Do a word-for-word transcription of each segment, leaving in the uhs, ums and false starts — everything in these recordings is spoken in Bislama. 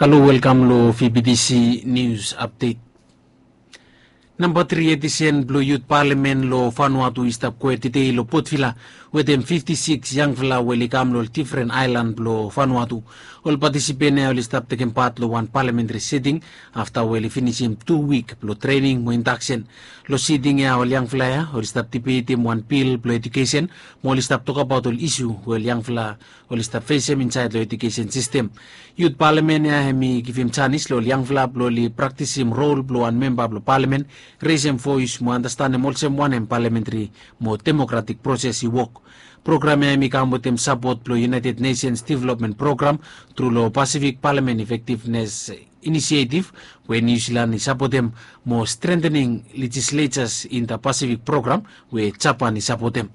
Halo, welkam lo V B T C News Update. Namba tri etisen blo Yut Palamen lo Vanuatu i stap kwet tedei lo Port Vila wetem fifti sikis yangfala we oli kam lo difren aelan blo Vanuatu. Ol patisipen ya oli stap tekem pat lo wan palamentri siting afta we oli finisim tu wik blo trening mo indaksen. Lo siting ya ol yangfala ya oli stap dibetem wan bil blo ejukesen mo oli stap tokbaot ol isu we ol yangfala oli stap fesem insaed lo ejukesen sistem. Yut Palamen ya hem i givim janis lo ol yangfala blo oli praktisim rol blo wan memba blo palamen, resem voes mo andastanem olsem wanem palamentri mo demokratik proses i wok. Program ya hem i kam wetem sapot blo United Nations Development Program tru lo Pacific Palamen Effectiveness Initiative we Niu Silan i sapotem mo strengthening legislatures in the Pacific Program we Japan i sapotem.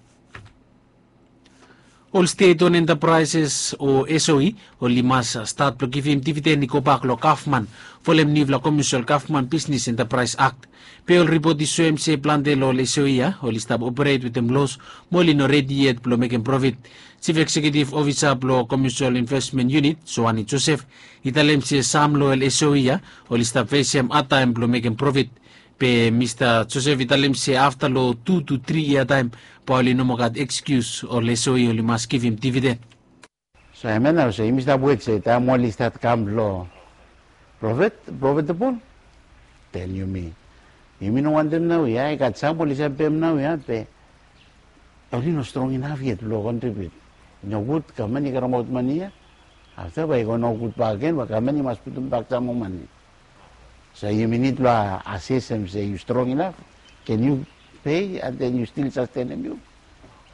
Ol stet on enterprises o S O E oli mas stat blo givim dividen i gobak lo gavman folem niufala komesol Gavman Bisnes Enterprise Akt. Be ol ripot i soem se plante lo ol S O E ya oli stap operet wetem los mo oli no redi yet blo mekem profit. Chief Executive Officer blo Komesol Investment Unit, Soani Joseph, i talem se sam lo ol S O E ya oli stap fesem ataem blo mekem profit. Be Mista Joseph i talem se afta lo tu tu tri yia taem bae oli no moa gat ekskius ol S O E oli mas givim dividen. So hemia nao se yumi stap wet se taem oli stat kam lo profit, profitable, then yumi, yumi no wantem naoia, i gat sam oli save pem naoia be oli no strong inaf yet blo kontribut. Nogud gavman i karemaot mane ya, afta bae i go nogud bakegen bae gavman i mas putum bak sam moa mane. So yumi nid blo asesem se yu strong inaf, ken yu pei and then yu stil sastenem yu.